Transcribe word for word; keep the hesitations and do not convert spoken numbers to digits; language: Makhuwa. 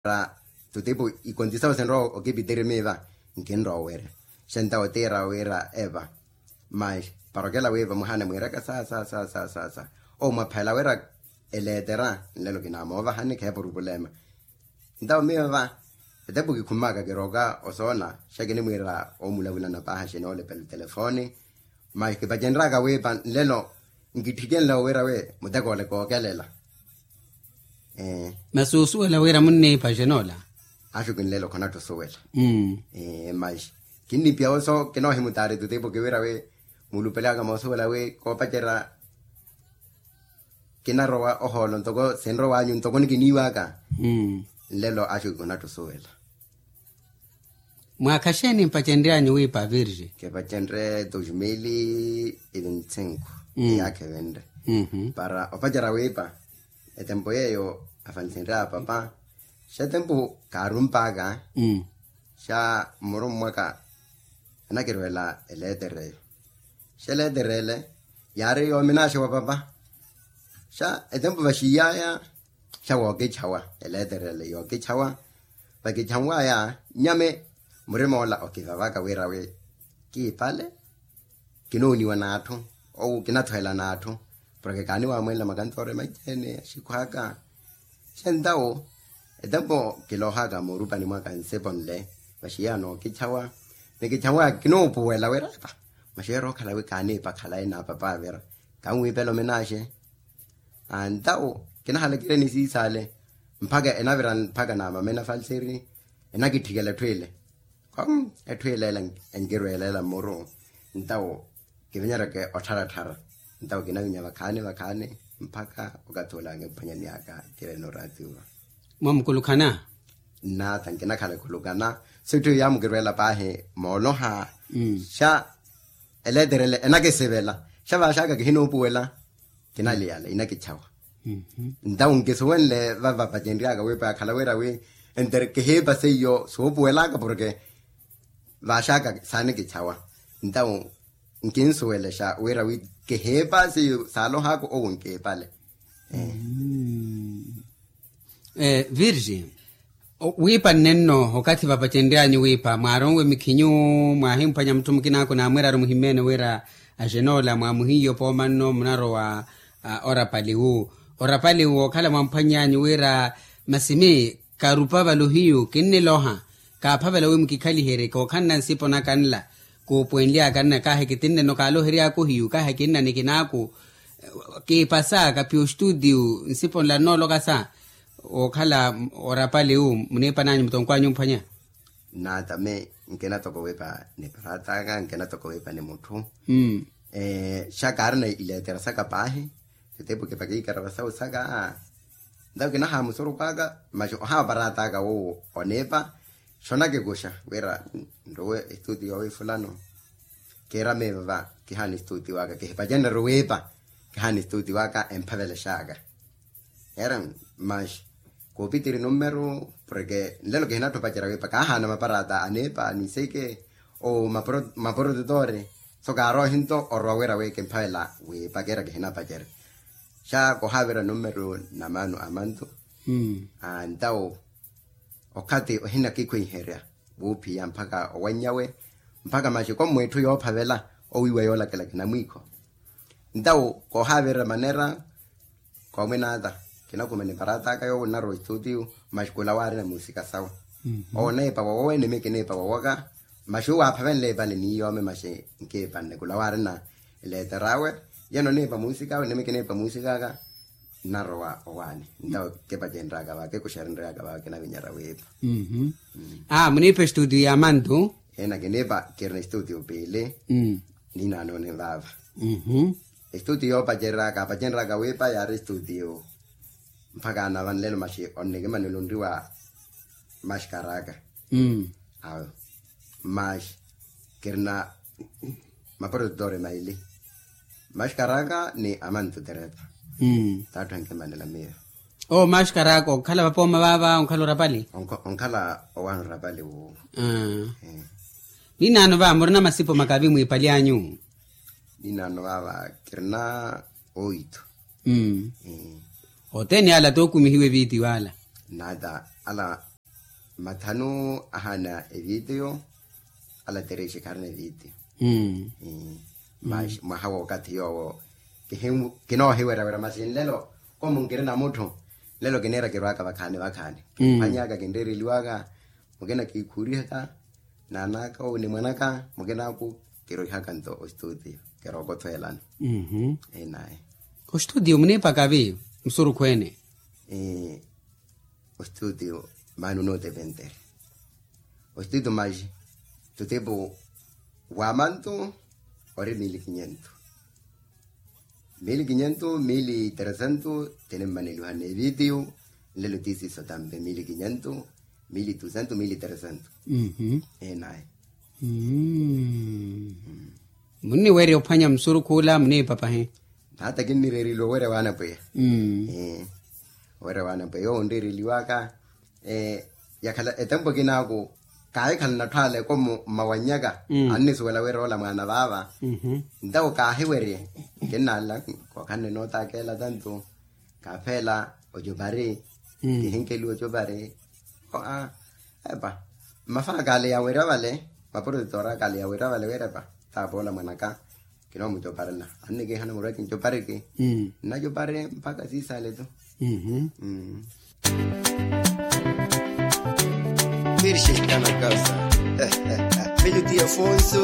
Ra tutipu ikontisawo sinrowa okipitiri miiva nkinrowa owerya. Xenta otiira wira eva mas parokela wiiva muhana mwiiraka sa sa sa sa sa sa. Omwaphela wira eleetera nlelo kinamoovahani kheepa orupulema. Ntawo miiva etepu kikhumaka kiroka osoona xa kinimwiira omulavulana paaha xinoolepela telefoni. Mas kipacenryaka wiipa nlelo nkithikenle owira wi mutekole kookelela. Masi osuwela wira munniipa xenoola? Axukinlelo khonatthi osuwela. Mas kinnipiya oso kinoohimutaari tutipu kiwira wi mulupelaka moosuwela wi koopacerya kinarowa ohoolo ntoko sinrowanyu ntoko nikiniiwaka. Nlelo axuki khonatthi osuwela. Mwaakha xeeni mpacenryanyu wiipa virge? Kipacenrye dos mil e vinte cinco. Iyaakha evenre para opacerya wiipa etempo yeeyo afansenrya apapa. Xetempo kaarumpaka xa mmurummwaka anakirwela eleetereyo. Xeleeterele yaari yoominaxa wa papa. Xa etempo vaxiiyaya xa wookitxawa eleeterele yookitxawa. Vakitxanwaya nyame murimoola okivavaka wira wi kiipale kinooniwa n'atthu ou kinathwela n'atthu. Porke kaaniwamwenla makantoore manci-ene axikhwaka. Xentawo etempo kilohaka moorupani mwaka nsipo nle vaxiiya nookitxawa. Nikitxawaka kinoopuwela wira epa maxeera okhala wi kaaniipa khalayi na papa avira kanwiipela ominaxe. Antawo kinahalakireni siisaale mpakha enavira mpakha namamena falseri enakitthikela etthu ile. Khom etthu ile ela enkirwelela mmuru. Ntawo kivinyereke ottharattharra ntawo kinavinya vakhaani vakhaani mpakha okathi ula ankiphwanyani aka kirene oraatiwa. Mwamukulukhana? Nnaata nkinakhala ekhulukana. Sitthu yamukirweela paahi mooloha xa eleeterele enakisivela xa vaaxaka kihinoopuwela. Kinaliyala inakitxawa. Ntawo nkisuwenle vava vacenryaka wiipa yakhala wira wi entere kihiipa seiyo soopuwelaka porke vaaxaka saanikitxawa. Ntawo nkinsuwelexa wira wi kihiipa seiyo saalohaka owo nkiipale. Virgin, wiipa nnenno okathi vapacenryanyu wiipa mwaaronwe mikhinyu, mwaahimphwanya mutthu mukinaaku naamwiraru muhimmeene wira axenoola mwaamuhiiye opooma nno munarowa orapaliwu. Orapaliwu wookhala mwamphwanyanyu wira masi mi karupa vale ohiyu kinniloha. Kaaphavela wi mukikhaliherye kookhanna nsipo naka nla kuupwenlyaka nna kahi kitinneno kaaloheryaka ohiyu kahi kinna nikinaaku. Kiipasa kaphiya ostuutiyu nsipo nla nnoolokasa wookhala orapaliwu muniipananyu mutonkw'anyu omphwanya. Nnaata mi nkina toko wiipa ni paraat'aka nkina toko wiipa ni mutthu. Xa kaarina ileetera saka paahi. Sitepu kipakiikara vasawu saka. Ntawo kinahamusurukw'aka masi ohaaparaat'aka woowo oniipa. Xonakikuxa wira nruwe estuutiyo wifulano. Kiira miiva va kihaana estuutiyo aka kihipacenrye ruwiipa. Kihaana estuutiyo aka emphavelex'aka. Era mas kuupitiri nummeru porke nlelo kihinatthi opacerya wiipa kaahaana maparaata aniipa niseke o maporototore. So kaarohinto orowa wira wi kimphavela wiipa kiira kihinapacerya. Xa kohaavira nummeru na maano a mantu. Antawo okhathi ohinakikhweiherya wuuphiya mpakha owanny'awe mpakha maxiko mmw'itthu yoophavela owiiwa yoolakela kinamwiikho. Ntawo koohaavirira manera koomwinaata kinakhuma niparaat'aka yoowo nnarowa estuutiyu. Maxi khula waarina muusika sawe owo niipa wowowe nimi kiniipa wowaka. Maxi uwo aaphavenle ipale niiyoome maxi nkiipanne khula waarina eleeter'awe. Yeno niipa muusik'awe nimi kiniipa muusik'aka. Nnarowa owaani ntawo kipacenryaka va kikuxerenryaka va kinavinyerya wiipa. Aa muniipa estuutiyo ya mantu. Ena kiniipa kirina estuutiyo piili. Ninaanoni vaava. Estuutiyo yoopacerya kaapacenryaka wiipa yaari estuutiyo mpakha anava nlelo maxi onnikimanela onriwa maxkaraka. Awo maxi kirina maprodutor maili. Maxkaraka ni amantu terepa. Tatthu ankimanela miyo. Owo maxkaraka okhala vapooma vaava onkhala orapali. Onkhala owaana orapali wuwo. Ninaano va murina masipo makavi mwiipali anyu? Ninaano vaava kirina oito. Othene ala tookumihiwe viitiyo ala. Nata ala Mathanu ahaana evitiyo. Ala terexi kharina evitiyo. Masi mwaha w'okathi yoowo kinoohiwerya wira masi nlelo komu nkirina mutthu. Nlelo kiniira kirwaka vakhaani vakhaani. Kimphwanyaka kinreereliwaka. Mukina kiikhuurihaka naanaka owu ni mwanaka. Mukinaaku kiroihaka nto ostutiyo. Kirookotho elano. Enaye. Ostutiyo muniipaka vi? Musurukhu ene. Ostutiyo maana onootepentere. Ostutiyo maji tutipu wa mantu ori mili kinyentu. Mili kinyentu mili teresentu. Tinimmaneliwa n'evitiyo nlelo tisiso tampe mili kinyentu mili tusentu mili teresentu. Enaye. Munniwerya ophwanya musurukhu ula muniipapahi. Hata kinnireereliwa owerya w'anapweya. Owerya w'anapweya owo onreereliwaka. Yakhala etempo kinaaku kaahikhala natthu ale komu mmawannyaka. Annisuwela wira ola mwaana vaava. Ntawo kaahiwerye kinnala kookhanne nootakeela tantu. Kaapheela ocupari kihinkeliwa ocupari. Epa mmafaakale yawerya vale maprotetora akale yawerya vale wira epa taapoola mwanaka. Kinoomucoparela annikihana murweke ncopareke. Nnacopare mpakha siisale tu. Virgem está na casa. Filho de Afonso.